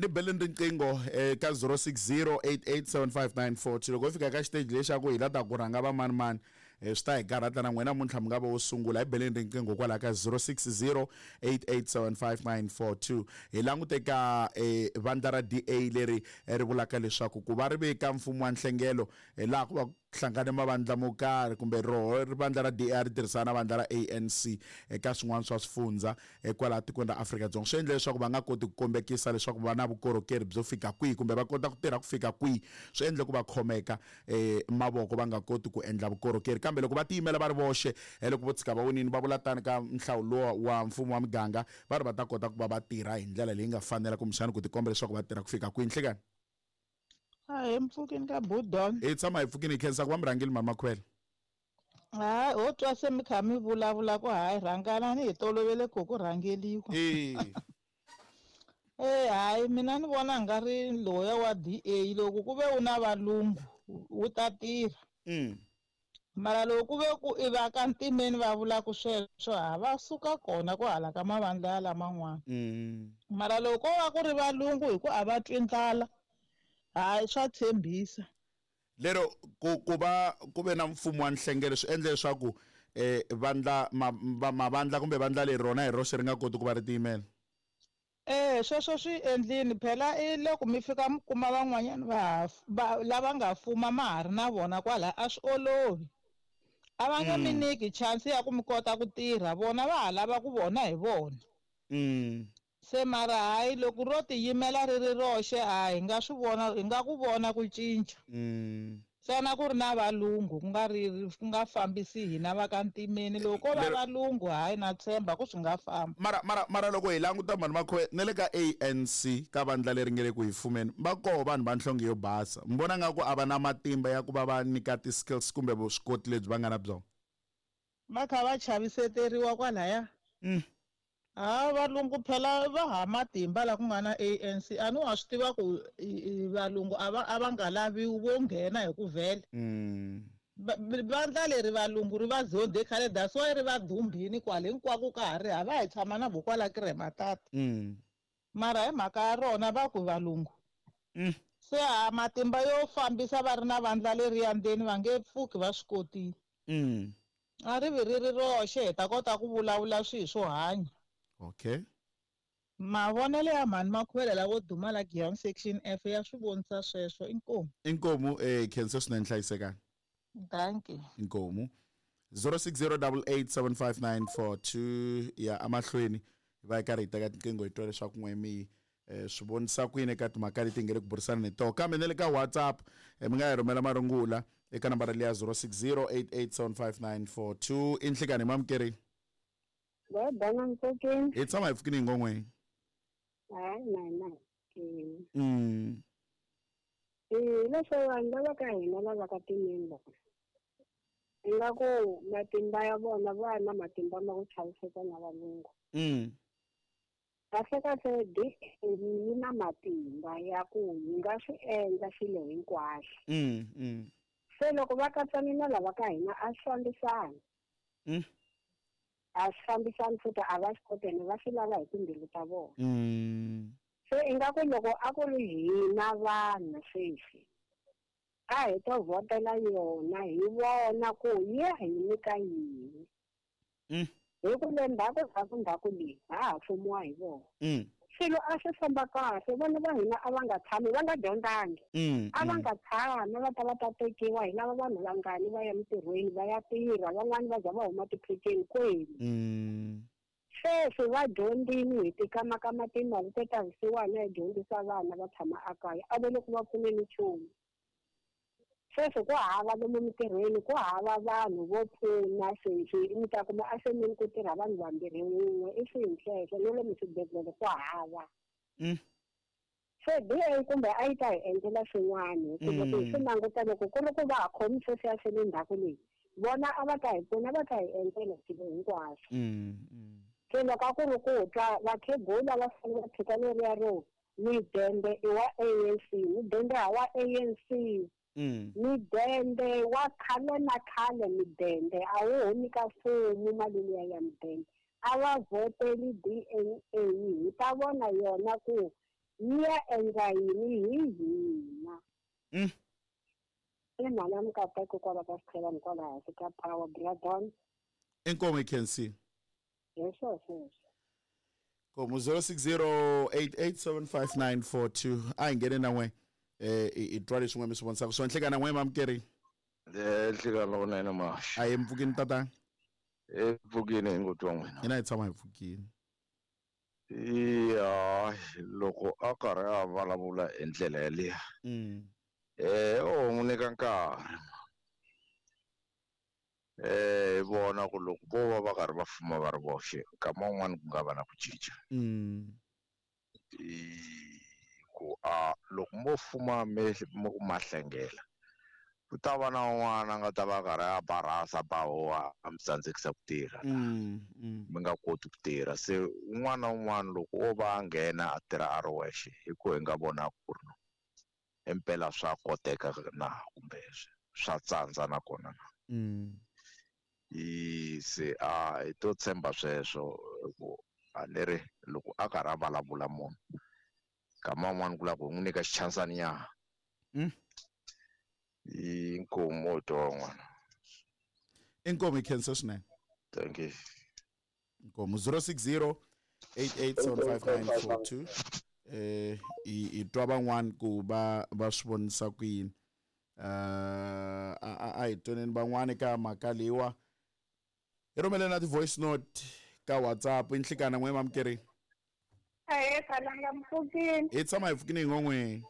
Ni beleni riqingho ka 0608875942 loko hi fika ka xiteji lexaku hi la ta ku rhanga va mani mani, swi ta hi karhata na n'wina namuntlha mi nga va wo sungula. Hi beleni riqingho kwalaha ka 0608875942. Hi langute ka vandla ra DA leri ri vulaka leswaku ku va ri veka mfumo wa nhlengelo, laha ku va ku hlangane mavandla mo karhi kumbe roho ri vandla ra DA ri tirhisana na vandla ra ANC eka swin'wana swa swifundza kwalaha tikweni ra Afrika-Dzonga, swi endle leswaku va nga koti ku kombekisa leswaku va na vukorhokeri byo fika kwihi kumbe va kota ku tirha ku fika kwihi. Swi endle ku va khomeka mavoko va nga koti ku endla vukorhokeri, kambe loko va tiyimela va ri voxe, loko vo tshika va winini, va vula tani ka nhlawulo luwa wa mfumo wa miganga, va ri va ta kota ku va va tirha hi ndlela leyi nga fanela kumbexana ku tikomba leswaku va tirha ku fika kwihi. Nhlekani. A hi mpfukini ka Budon. Hi tshama hi pfukini, hi khensa ku va murhangeli Mama Khwele. Hayi, ho twa se mi kha mi vulavula ku hayi rhanganani, hi tolovele ku ku rhangeliwa. Eh hayi, mina ni vona nga ri loya wa DA loko ku ve u na valungu wu ta tirha. Mara loko ku ve ku i va ka ntimeni va vula ku sweswo, ha va suka kona ku hala ka mavandla ya laman'wana. Mara loko ko va ku ri valungu hi ku a va twi ndlala, hayi swa tshembisa. Lero ku va ku ve na mfumo wa nhlengelo swi endle leswaku vandla mavandla kumbe vandla leri rona hi roxe ri nga koti ku va ri tiyimela. Sweswo swi endlini phela i loko mi fika mi kuma van'wanyana va lava nga fuma ma ha ri na vona kwala, a swi olovi. A va nge mi nyiki chance ya ku mi kota ku tirha, vona va ha lava ku vona hi vona. Se mara hayi loko ro tiyimela ri ri roxe, a hi nga swi vona, hi nga ku vona ku cinca. Ntsena ku ri na valungu, ku nga ri ku nga fambisi hina va ka ntimeni. Loko ko va valungu, hayi na tshemba ku swi nga famba. Mara loko hi languta mhani Makhoe, na le ka ANC ka vandla leri nge le ku hi fumeni, va koho vanhu va nhlonge yo basa. Mi vona nga ku a va na matimba ya ku va va nyika ti-skills kumbe vuswikoti lebyi va nga na byona? Va kha va chaviseteriwa kwalaya. Ha valungu phela va ha matimba la ku nga na ANC. A ni wa swi tiva ku valungu a va nga laviwi vo nghena hi ku vhele. Vandla leri valungu ri va zondhe khale, that's why ri va dumbini kwale hinkwako ka ha ri hava, hi tshama na vo kwala Krematata. Mara hi mhaka ya rona va ku valungu. Se ha matimba yo fambisa va ri na vandla leriya ndzeni va nge pfuki va swi kotile. A ri vi ri ri roxe, hi ta kota ku vulavula swihi swo hanya. Okay. Mavonelo ya mhani Makhuvele lavo duma la Giyani Section F ya swi vonisa sweswo. Inkomu. Inkomu, khensa swinene, hlayisekani. Thank you. Inkomu. 0608875942 ya amahlweni hi va hi karhi hi teka tinqingho hi twa leswaku n'we mi swi vonisa ku yini eka timhaka leti hi nge le ku burisana ni toho. Kambe na le ka WhatsApp, mi nga hi rhumela marungula eka nambara liya 0608875942. I nhlikani hi mamukeri. Va bana ntsokeni. Hi tshama hi pfukini hi ngon'weni. Hayi, na hina hi pfukini. Leswo vanhu lava ka hina lava ka timeni lava, ingaku matimba ya vona va na matimba ma ku chaviseka na valungu. Kahle kahle DA yi na matimba ya ku yi nga swi endla swilo hinkwaswo. Se loko va katsana na lava ka hina a swi fambisani. A swi fambisani futhi a va swi koti ene va swi lava hi timbilu ta vona. Se ingaku loko a ku ri hina vanhu sweswi, a hi to vhotela yona hi vona ku yi ya hi nyika yini. Hi ku le ndzhaku, ndzhaku, ndzhaku leyi ha ha fumiwa hi vona. Swilo a swi famba kahle, vana va hina a va nga tshami, va nga dyondzangi. A va nga tshami, va ta va ta tekiwa hi lava vanhu vangani va ya mintirhweni, va ya tirha, van'wani va za va huma tipheceni kwenu. Sweswi va dyondzile hi tikamakama timali te ta vusiwana hi dyondzisa vana va tshama ekaya, a va le ku va pfuneni nchumu. Sweswi ku hava lomu mintirhweni, ku hava vanhu vo pfuna sweswi, mi ta kuma efemeni ku tirha vanhu vambirhi wun'we, i swihi sweswo, na lomu swibedhlele ku hava. Se DA kumbe a yi ta hi endlela swin'wana, hi ku loko hi swi languta loko ku ri ku va ha khomi sweswiya swa le ndzhaku leyi, vona a va ta hi pfuna, va ta hi endlela swilo hinkwaswo. Se loko a ku ri ku twa vakhegula va fanele va tshika leriya ro midende i wa ANC, midende ha wa ANC. Midende wa khale na khale, midende a wu humi ka mfumo mali liya ya midende. A va vhoteli DNA, hi ta vona yona ku Yi ya endla yini hi hina? I mhana Mikateko kwala ka Sichelani kwala hansi ka Power Bradon. Inkomo i khensile. Hi swo sweswo. Komu 0608875942 a hi nghene na n'we i twa leswi n'we mi swi vonisaka swona. Nhlekana n'we mamukeri. Nhlekana lowunene maxa. A hi mpfukini tatana. Mpfukini hi ngo twa n'wina. Hina hi tshama hi pfukini. Ya loko a karhi a vulavula hi ndlela yaliya. O n'wi nyika nkarhi. Hi vona ku loko vo va va karhi va fuma va ri voxe nkama wun'wani ku nga va na ku cinca. Ku a loko mo fuma mi ma hlengela ku ta va na un'wana a nga ta va karhi a barasa ba huwa a mi tsandzekisa ku tirha. Mi nga koti ku tirha. Se un'wana na un'wana loko o va a nghena a tirha a ri wexe hi ku hi nga vona ku ri no impela swa koteka na kumbe swa tsandza nakona na. Se a hi to tshemba sweswo ku a ni ri loko a karhi a vulavula munhu nkama wun'wani ku lava ku hi n'wi nyika xichansani nyana. Inkomo twa n'wana. Inkomo i khensa swinene. Thank you. Inkomo 0608875942 i twa van'wani ku va va swi vonisa ku yini. A hi twaneni van'wani ka mhaka leyiwa. Hi rhumele na ti-voice note ka WhatsApp. I nhlikana n'we mamukeri. Ahee, Khalanga mpfukini. Hi tshama hi pfukini hi n'we.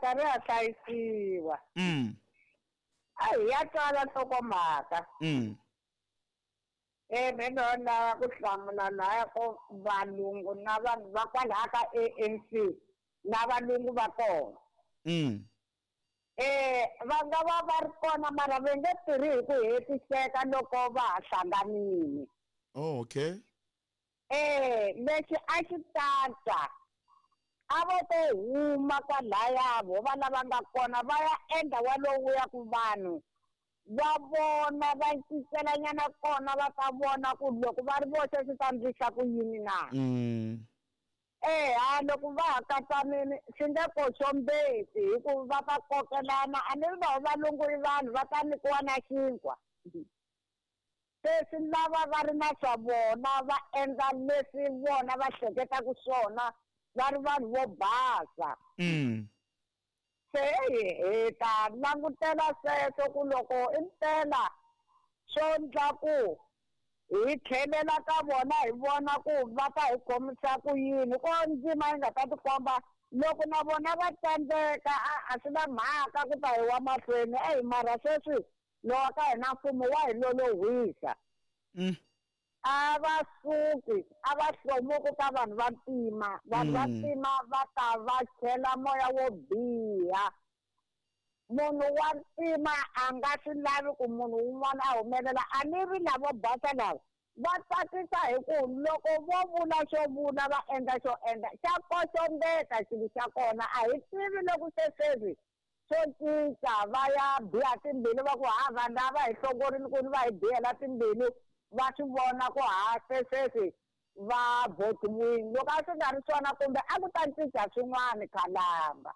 Karhi ha hlayisiwa. A hi ya twala nhlokomhaka. Me no lava ku hlamula laya ko valungu na vanhu va kwalaya ka ANC na valungu va kona. Va nga va va ri kona mara va nge tirhi hi ku hetiseka loko va ha hlanganile. Oh, okay. Lexi a xi tata a vo to huma kwalaya vo va lava nga kona va ya endla walowu ya ku vanhu va vona va cincelanyana kona va ta vona ku loko va ri voxe swi ta ndlisa ku yini na. Ha loko va ha katsanile swi nge koxombeti hi ku va ta kokelana a ni ri va valungu i vanhu va ta nyikiwa na xinkwa. Se swi lava va ri na swa vona va endla leswi vona va hleketaka swona va ri vanhu vo basa. Se hi ta langutela sweswo ku loko impela swo ndla ku hi tlhelela ka vona hi vona ku va ta hi khomisa ku yini ko ndzima yi nga ta tikomba loko na vona va tsandzeka a swi na mhaka ku ta hi wa mahlweni. Eyi mara sweswi lowa ka hina mfumo wa hi lolohisa. A va suki a va hlomuki ka vanhu va ntima. Vanhu va ntima va ta va chela moya wo biha. Munhu wa ntima a nga swi lavi ku munhu wun'wana a humelela. A ni ri lavo basa lava va tsakisa hi ku loko vo vula xo vula va endla xo endla xa koxombeta xilo xa kona. A hi tivi loko se sweswi swo cinca va ya biha timbilu va ku ha vanhu lava hi hlongorini ku ni va hi bihela timbilu va swi vona ku ha se sweswi va votiwile. Loko a swi nga ri swona kumbe a ku ta cinca swin'wana Khalanga.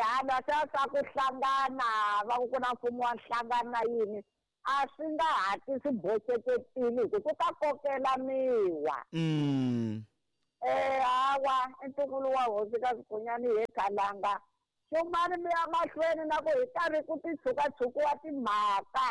Hala swa ku hlangana va ku ku na mfumo wa nhlangano na yini a swi nga hatli swi boxeketile hi ku ku ta kokelaniwa. Hawa i ntukulu wa hosi ka Swikhunyani hi Khalanga. Xumani mi ya mahlweni na ku hi karhi ku ti tshukatshukiwa timhaka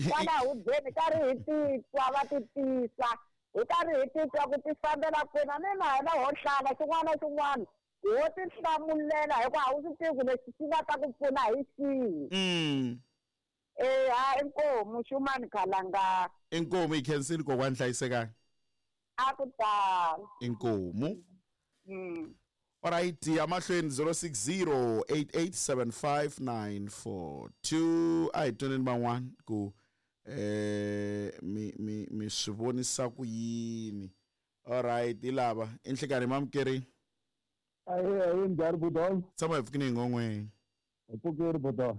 kwala hubyeni karhi hi titwa va ti tisa hi karhi hi titwa ku ti fambela kwini ni na hina ho hlala xin'wana na xin'wana ho ti hlamulela hikuva a wu swi tivi ku lexi xi nga ta ku pfuna hi xihi. Ha inkomu Xumani Khalanga. Inkomu i khensile kokwani hlayisekani. A ku tala. Inkomu. Alright, ya mahlweni 0608875942 a hi twaneni van'wana ku mi swi vonisa ku yini. Alright, hi lava i nhlikani mamukeri. Ayi njhani Budon? Tshama hi pfukini hi ngon'we. Hi pfukile Budon.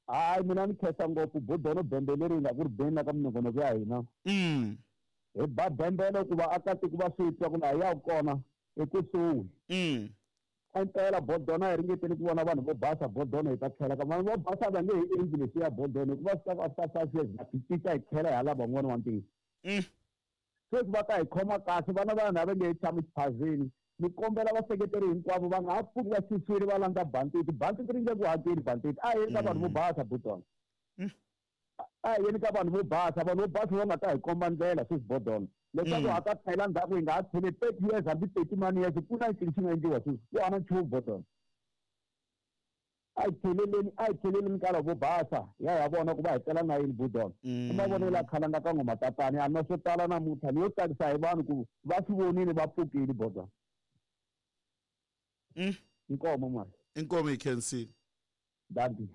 Hayi mina ni khensa ngopfu Budon bembe leri nga ku ri beni ka minongonoko ya hina. Hi ba bembele ku vaakatiko va swi twa ku laha hi yaka kona i kusuhi. Impela bodona hi ringetile ku vona vanhu vo basa bodona hi ta tlhela ka vanhu vo basa va nge hi endli leswiya bodona hikuva swi ta ku after 5 years ha ti cinca hi tlhela hi ha lava van'wana wa ntima. Sweswi va ta hi khoma kahle vana va hina va nge he tshami xiphazeni. Ni kombela vaseketeri hinkwavo va nga ha pfuki va xixile va landza bantiti. Bantiti ri nge ku hakeli bantiti. A hi yeni ka vanhu vo basa bodona. A hi yeni ka vanhu vo basa. Vanhu vo basa va nga ta hi komba ndlela sweswi bodona. Leswaku ha ta tlhela ndzhaku hi nga ha tlheli 30 years hambi 30 mani years ku na ncini xi nga endliwa sweswi. Ku hava nchumu bodona. A hi tlheleleni a hi tlheleleni ka lavo basa hi ya hi ya vona ku va hi tela na yini budon. I mavonelo ya khalanga ka ngoma tatani a na swo tala namuntlha ni yo tsakisa hi vanhu ku va swi vonile va pfukile bodon. Inkomo mali. Inkomo hi khensile. Dankie.